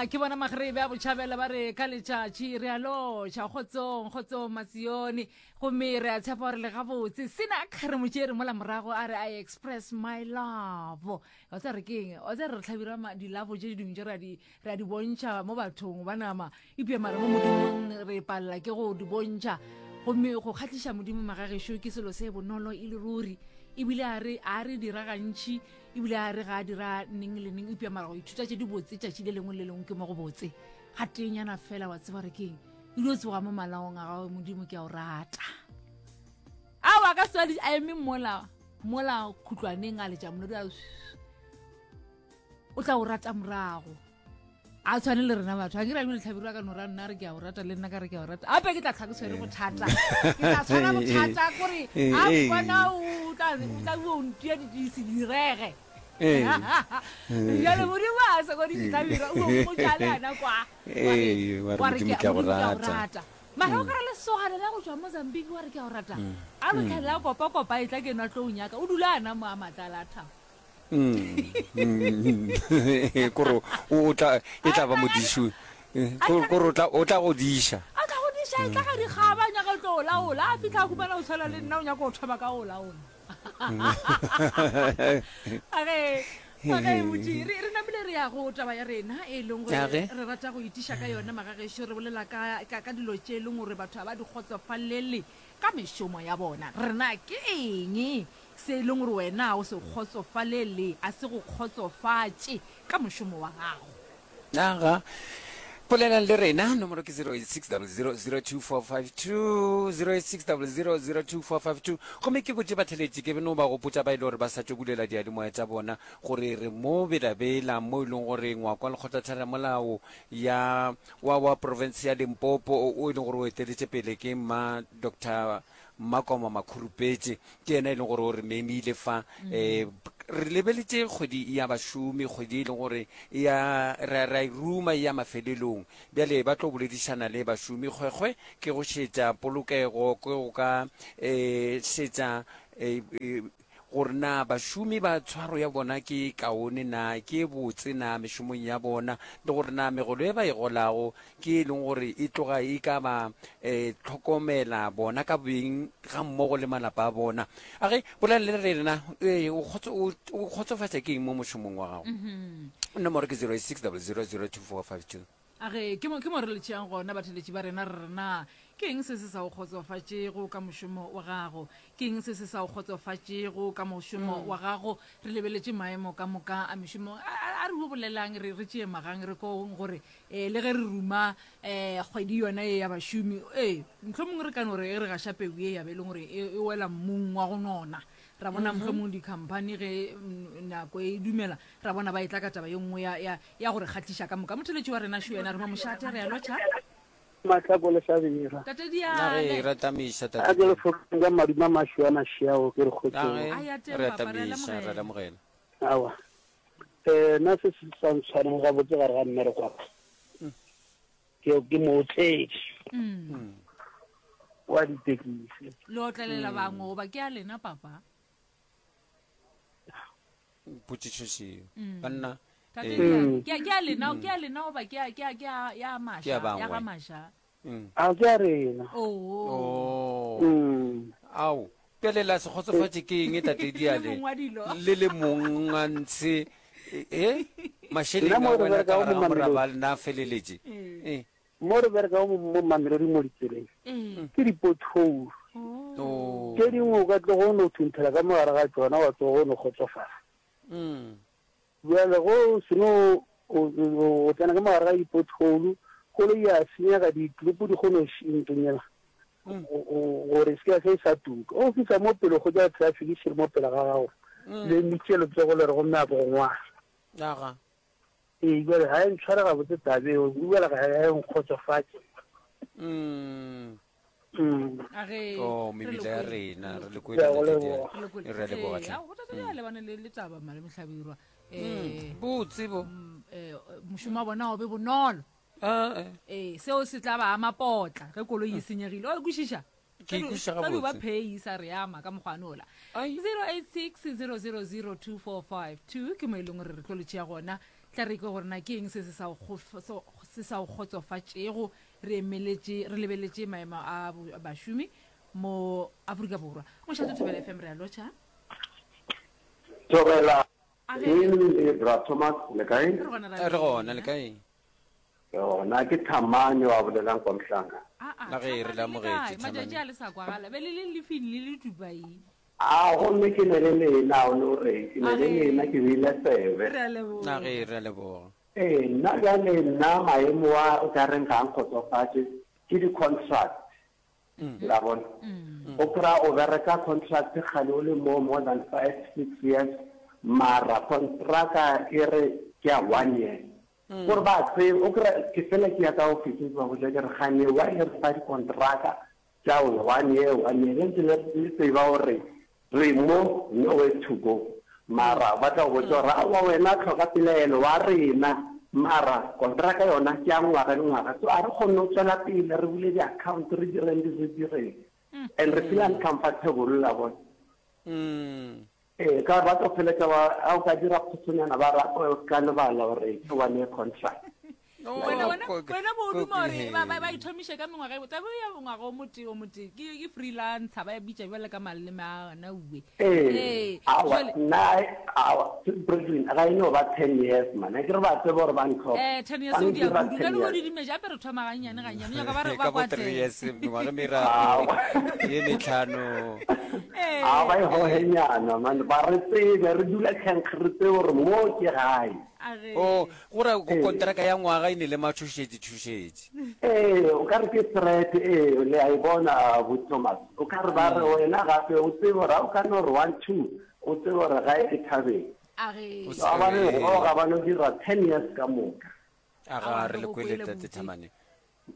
Ke bona magrebe a botšhabela ba re ka letšatši re a lotšha kgotsong kgotsong Matsione gomme re a tshepa gore le gabotse sena re mo tšere mola morago a re I express my love wa tsa re keng wa tsa re re hlabira dilavo tše dingwe tše re a di bontšha mo bathong ba nama epša mara mo modimong re palela ke go di bontšha gomme go kgahliša modimo magagešo ke selo se bonolo e le ruri ebile a re a re dira gantši Ebile a re ga a dira neng le neng, eupša mara go ithuta tše dibotse tšatši le lengwe le lengwe ke mo go botse. Gateenyana fela wa tseba re keng, o dio tsoga mo malaong a gago, Modimo ke a o rata. Ao a ka se a eme mola mola khutlwaneng a letša molodi a o tla o rata morago. A tshwane le rena batho a ke ra bile tlhabirwa ka no ra nna re ke a o rata le nna ka re ke a o rata ape ke tla tlha ke tshwere bothata ke tla tshwara bothata kore a bona o tla o tla o ntia di se direge jale modimo a se kodi tlhabirwa o mpotša le ana kwa wa re ke a go rata mara o kare lesogana la go tšwa Mozambique wa re ke a o rata a lo tlhalela kopa kopa e tla ke nwa tlo o nyaka o dula ana mo a matlala a thabo Kore o tla e tla ba modiši kore o tla o tla go diša. A tla go diša e tla ga dikgaba a nyaka tlo laola a fitlha a humana o tshwana le nna o nyaka go thoma ka go laola. Age age botši re re namile re ya go taba ya rena e leng gore re rata go itiša ka yona magagešo re bolela ka ka ka dilo tše e leng gore batho ga ba di kgotsofalele ka mešomo ya bona. Rena ke eng Se e leng gore wena o se kgotsofalele, a se go kgotsofatše ka mošomo wa gago. Aga. Bolelang le rena, nomoro ke 0860002452, 0860002452. Gomme ke botše batheletši, ke no ba gopotša ba e le gore ba sa tšo bulela diyalemoya tša bona, gore re mo Bela-Bela, mo e leng gore ngwako wa lekgotlatheramolao ya, wa, wa profense ya Limpopo, o e leng gore o eteletše pele ke Mma Doctor Mmakoma Makhurupetše ke yena e leng gore o re memile fa. Um re lebeletše kgwedi ya bašomi, kgwedi e leng gore ya ra ra e ruma e ya mafelelong. Bjale ba tlo boledišana le bašomi. Kgwekgwe ke go šetša polokego, ke go ka um šetša um gore na bašomi ba tshwaro ya bona ke e kaone na, ke e botse na mešomong ya bona, le gore na megolo e ba e golago ke e leng gore e tloga e ka ba um hlokomela bona ka beng gammogo le malapa a bona. A ge bolela le rena, ee, o kgotsofatša ke eng mo mošomong wa gago? Nomoro ke 086 000 2452. A re, Ke mo, ke mo re le tšeang gona, batheeletši ba rena, re re, Na ke eng se se sa o kgotsofatšego ka mošomo wa gago? Ke eng se se sa o kgotsofatšego ka mošomo wa gago? Re lebeletše maemo ka moka a mešomo. A, a, a re o bolelang, re, re tšee magang, re kong gore, eh, le ge re ruma, eh, kgwedi yona ye ya bašomi, ee, mohlomongwe re ka no re ge re gaša peu ye ya be e leng gore e, e wela mmung wa go nona. Ra bona mohlomongwe dikhamphani ge mm, nako e dumela, ra bona ba etla ka taba ye nngwe ya, ya, ya go re kgahliša ka moka. Motheletši wa rena šo yena, re mo mošate, re a lotšha. Mahlako le Hlabirwa. Tate Na ge Diale. re tamiša, A Tate ke le Diale. fokeng ka madume a mašweu a mašeao ke re Na kgotsong. ge A ya teng, re a papa, re a tamiša, re a lemogela. lemogela. Aowa. Eh, nna se se sa ntshwareng gabotse gare ga mmereko wa ka ke ke mootledi wa ditekisi. Le otlelela bangwe goba ke a lena, papa? Potšišo šeo. Banna, Tate eh, Diane, ke a- ke a lena, ke a lena goba ke a- ke a- ke a- ya Ke maša, ya ya bangwe. ga maša? A ke a rena. Oo. Oh. Mm. Ao, bjale la se kgotsofatše ke eng, Tate Le Diale? mong wa dilo. Le le mong a ntshe, eh, mašeleng Nna a mo re wela ka berekago gare mo ga moraba Mamelodi. a lena a feleletše. Eh. Mo re berekago mo, mo Mamelodi mo ditseleng, ke di-pothole. Oh. Tše dingwe o ka tloga o no thunthela ka mo gare ga tšona wa tsoga o no kgotsofala. Mm. Bjale ge o seno o tsena ka mo gare ga di-pothole, koloi ya senyega, ditlopo di kgone go ntonya gore e se ke ya se sa tuka. O fihla mo pele o hwetša traffic e šele mo pele ga gago, le emitše letsogo le re gomme a bo go ngwala. Aga. Ee, bjale ga e ntshware gabotse taba eo, ebile ga e nkgotsofatše. Mm. Mm. A ge Oh, re mebila ya le kwele, rena, re re le le Ke a kwele go Tate leboga. Diale. re le kwele. Re a leboga Ee, hle. ao, Tate Diale lebane le le taba Malome Hlabirwa. Eh, Botse bo. mm, eh, mošomo wa bona o be bonolo. Ah, eh. Ee, seo se tla ba ama potla ge koloi e senyegile. O kwešiša? Ke e kwešiša Tsa di ba gabotse. phei sa re ama ka mokgwa nola. Ai. 0860002452 ke mo e leng gore re tlo le tšea gona. Tla re kwe gore na ke eng se se sa se sa o kgotsofatšego re emeletše re lebeletše maemo a bašomi mo Afrika Borwa. Mošate Thobela FM re a lotšha. Thobela le Bra Thomas le kae? Re gona le kae? Re gona ke Thamane wa bolelang kwa Mhlanga. La ge re le amogetše Thamane. Matšatši a le sa kwagala be le le lefing le le Dubai. A gomme ke ne le lena o no re ke ne le lena ke beile tsebe. Re a leboga. Na ge re a leboga. Ee nna bjale nna maemo a o ka reng ga a nkgotsofatše ke di contract. La bona? O kry-a o bereka contract kgale o le mo more than 5, 6 years mara kontraka e re ke ya one year. Gore ba tsebe, o kry-a ke fela ke ya ka ofising ke ba botša ke re gane why le re fa dikontraka tša one year, one year le ntse le tseba gore re mo nowhere to go. Mara ba tla go botša gore aowa wena tlhoka pelaelo wa rena mara kontraka yona ke ya ngwaga le ngwaga so a re kgone go tswela pele re bule di-account re direng re direng and re feel uncomfortable la bona. Ee, ka gore ba tlo feletša ba, ga o ka dira phosonyana ba re o ka lebala gore ke one year contract. Wena wena wena bo duma gore ba ba ba ithomiše ka mengwaga e tlabe ya ngwaga o motee o motee ke ke freelancer ba e bitša bjale ka maleme a ona uwe. Ee, aowa nna aowa Brethren ga e no ba 10 years man, a ke re ba tseba gore ba ntlhoka. Eh, 10 years o dia kudu, ka no didimetša gape re thoma gannyane gannyane, nyaka ba re ba Ka bo kwate. 3 years mengwaga e meraro ye metlhano. Ee. A ba e hohenyana man, ba re tsebe re dula kgenkge re tsebe gore mo ke gae. A ge. O go ra kontraka ya ngwaga e ne le matšhošetši tšhošetši. Ee, o ka re ke threat, ee, le a e bona bo Thomas. O ka re ba re wena gape o tsebe gore ga o ka no re one two, o tsebe gore gae ke thabeng. A ge. O se Ba ba no ee. goga ba no dira ten years ka moka. A ga Aowa, re re le go kwele kwele Tate buti. Thamane.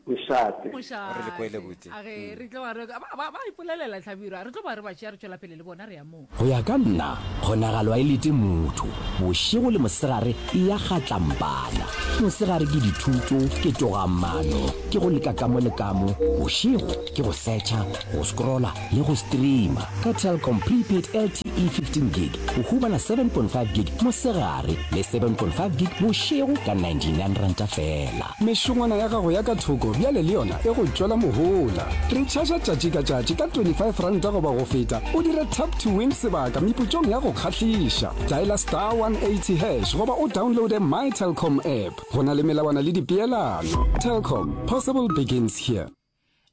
Mošate. Re le kwele Mošate. buti. A ge re tlo ba re ba ba ba ipolelela Hlabirwa, re tlo ba re ba tšea re tšwela pele le bona re ya moo. Go ya ka nna, kgonagalo a e lete motho. Bošego le mosegare e ya kgatlampana. Mosegare ke dithuto, ke togamaano, ke go leka ka mo le ka mo. Bošego ke go searcha, go scrolla le go streama. Ka Telkom Prepaid LTE 15 Gig o humana 7.5 gig mosegare le 7.5 gig bošego ka 99 ranta feela. Mešongwana ya gago ya ka thoko bjale le yona e go tšwela mohola. Retšhaša tšatši ka tšatši ka R25 goba go feta o dire Tap to Win sebaka meputsong ya go kgahliša. Dialer star 180 hash goba o downloade My Telkom app. Go na le melawana le dipeelano. Telkom, possible begins here.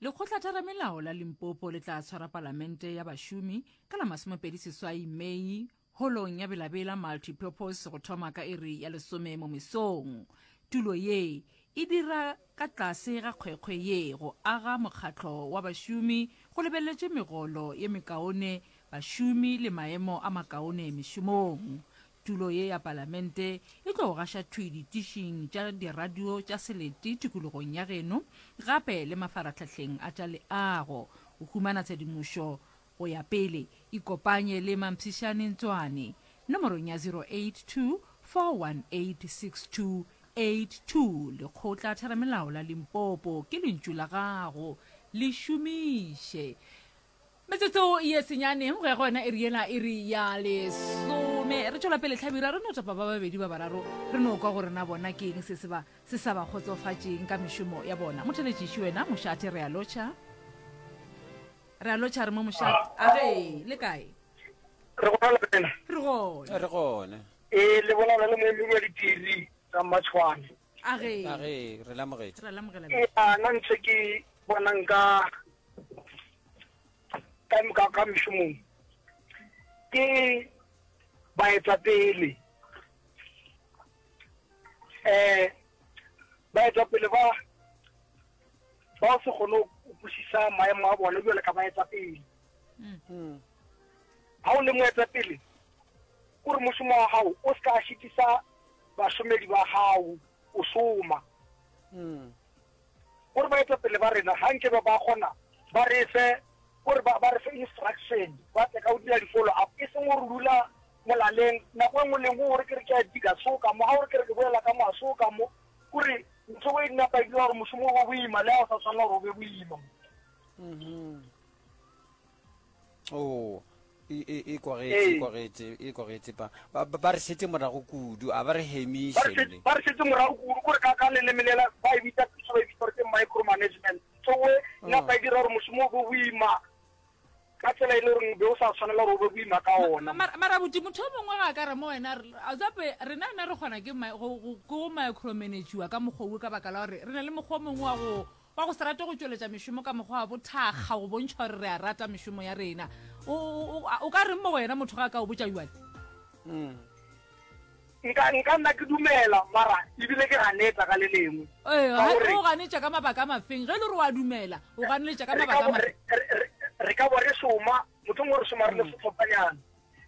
Lekgotlatheramelao la Limpopo le tla tshwara palamente ya bašomi ka la 28 Mei Holong ya Belabela Multi-Purpose go thoma ka iri ya lesome mo mesong. Tulo ye e dira ka tlase ga kgwekgwe ye go aga mokgatlo wa bašomi go lebeletše megolo ye mekaone bašomi le maemo a makaone mešomong. Tulo ye ya palamente e tlo gaša thwi ditišing tša diradio tša selete tikologong ya geno gape le mafarahlahleng a tša leago. Go humana tshedimošo Go ya pele, ikopanye le Mampshišane Ntswane nomorong ya 082 418 6282. Lekgotla Theramelao la Limpopo ke lentšu la gago, le šomiše. Metsotso ye senyane go ya go yona iri yela, iri ya lesome. Re tšwela pele Hlabirwa, re no topa ba babedi ba bararo, re no kwa gore na bona ke eng se se ba se sa ba kgotsofatšeng ka mešomo ya bona. Motheletšiši wena mošate, re a lotšha. Re a lotšha re mo mošate. A ge, le kae? Re gona le wena. Re gona. Re gona. Ee, le bolela le moemedi wa ditiri tsa Mmatšhwane. A ge. A ge, re lamogetše. Re lamogela. Ee, a nna ntho ke bonang ka ka ka ka mešomong ke baetapele eh baetapele ba ba se kgone go kwešiša maemo a bona bjale ka baetapele. Ga o le moetapele, o re mošomo wa gago o se ka šitisa bašomedi ba gago o šoma. O re baetapele ba rena ga nke ba ba kgona ba re fe o re ba re fe instruction ba tle ka go dira di-follow up e seng gore dula molaleng nako e nngwe le nngwe o re ke re ke a dika soka mo ga o re ke re ke boela ka mo a soka mo Kore ntho e napa e dira gore mošomo o be boima le ga o sa tshwanela gore o be boima. Oh. E, e, e kwagetše, e kwagetše, e kwagetše. Ba, ba, ba re šetše morago kudu, a ba re hemiše nne. Ba re šetše morago kudu, kore ka, ka leleme lela ba e bitsa, puso ba e bitsa gore ke micro management. So we, napa e dira gore mošomo o be boima ka tsela e le goreng be o sa tshwanela gore o be boima ka ona. Mara buti, motho o mongwe ga a ka re mo wena, a tsape rena na re kgona ke go, go, ke go micromanagiwa ka mokgwa wo ka baka la gore re na le mokgwa o mongwe wa go, wa go se rate go tšweletša mešomo ka mokgwa wa bothakga go bontšha gore re a rata mešomo ya rena. O, o, o, o ka reng mo go yena motho ga a ka o botša bjale? Nka, nka nna ke dumela, mara ebile ke ganetsa ka le lengwe. Ee, Ka gore o ganetša ka mabaka a mafeng? Ge e le gore wa dumela, o ganeletša ka re mabaka ka a bo, mafeng? re, re, re, re ka bo re šoma, mohlomongwe re šoma re le sehlophanyana.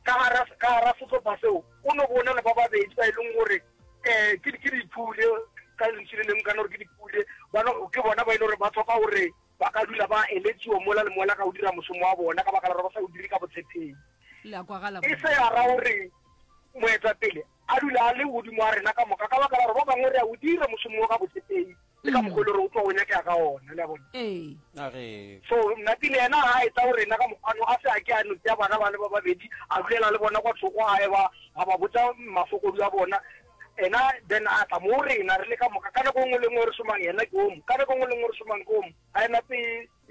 Ka gara, ka gara sehlopha seo, o no bo o na le ba babedi ba e leng gore um ke, ke dipule, ka lentšu le lengwe ka no re ke dipule, ba no, ke bona ba e leng gore ba hloka gore ba ka dula ba eletšiwa mola le mola ka go dira mošomo wa bona ka baka la gore ba sa o dire ka botshepegi. Le a kwagala E se ya ra gore moetapele a dule a le godimo ga rena ka moka ka baka la gore ba bangwe re a o dira mošomo wo ka botshepegi le ka mokgwa e le gore o tloga o nyakega ka ona, le a bona. Ee. A re. So Nnatile yena ga a etla go rena ka mokgwano a se a ke a no tšea bana bale ba babedi a dulela le bona kwa thoko a eba a ba botša mafokodi a bona ena then a tla mo rena re le ka moka ka nako e nngwe le nngwe re šomang yena ke omo ka nako e nngwe le nngwe re šomang ke omo a ena pe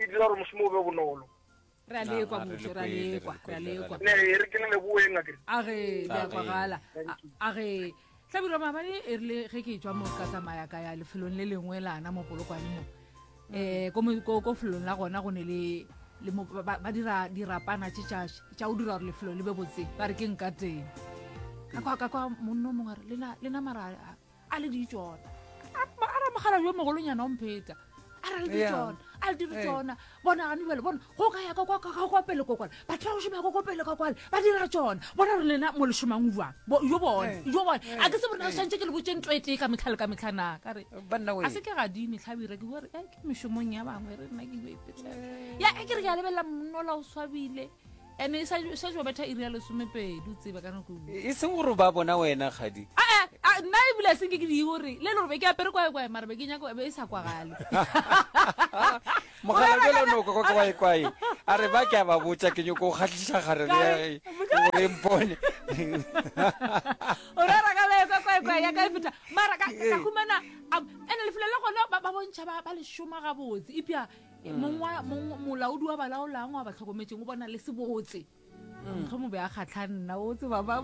e dira gore mošomo o be bonolo. Re a lekwa mmušo, re a lekwa, re a lekwa. Ne e re ke le leboeng akere. A ge le a kwagala. A ge Hlabirwa maabane e rile ge ke tšwa mo ka tsamaya ka ya lefelong le lengwe lana mo Polokwane mo. Eh ko ko ko felong la gona go ne le le mo ba, ba dira dirapana tše tša tša go dira gore lefelo le be botse ba re ke nka teng. Ka kwa ka kwa monna o mongwe a re lena lena mara a le di tšona a ra mogala yo mogolonyana o mpheta a ra le di tšona a le dire tšona bona gane jale bona go ka ya ka kwa pele ko kwale batho ba go šoma ko pele ka kwale ba dira tšona bona re lena mo le šomang jwang yo bone yo bone a ke se borena swantse ke le botse ntho e tee ka metlha le ka metlha na ka re a se ke gadime tlhabira ke bua re ke mešomong ya bangwe re nna ke yo ipetlela ya e ke re ke a lebelela monnola o swabile Ene e sa sa jo betha iri ya lesomepedi o tsebe ka nako e seng gore ba bona wena kgadi. A a nna ebile a senke ke di gore le le gore be ke apere kwae kwae mara be ke nyako be e sa kwagale. Mogala jalo no kwa kwae kwae a re ba ke a ba botša ke nyoko go kgahliša gare le ya ge gore mpone. O rera ka be kwa kwae kwae ya ka e feta mara ka ka humana ene lefelo la gona ba ba bontšha ba ba le šoma gabotse ipya mm. mong mong molaodi wa balaolang wa ba tlhokometseng o bona le sebotse mm. motlho mo be a kgatlha nna o tseba ba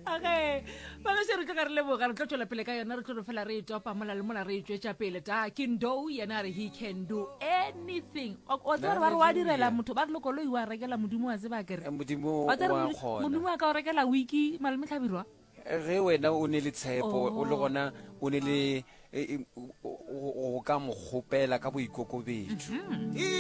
okay babeše re tloga re leboga re tlo tswela pele ka yona re tlo re fela re e topa mola le mola re e tswetša pele ta ke ndo yena a re he can do anything o tseba gore ba re wa direla motho ba re le koloi wa rekela modimo wa tseba kere eh, modimo wa ka o rekela wiki malome tlhabirwa Ge wena o ne le tshepo, o le gona o ne le e, e, o ka mo kgopela ka boikokobetšo.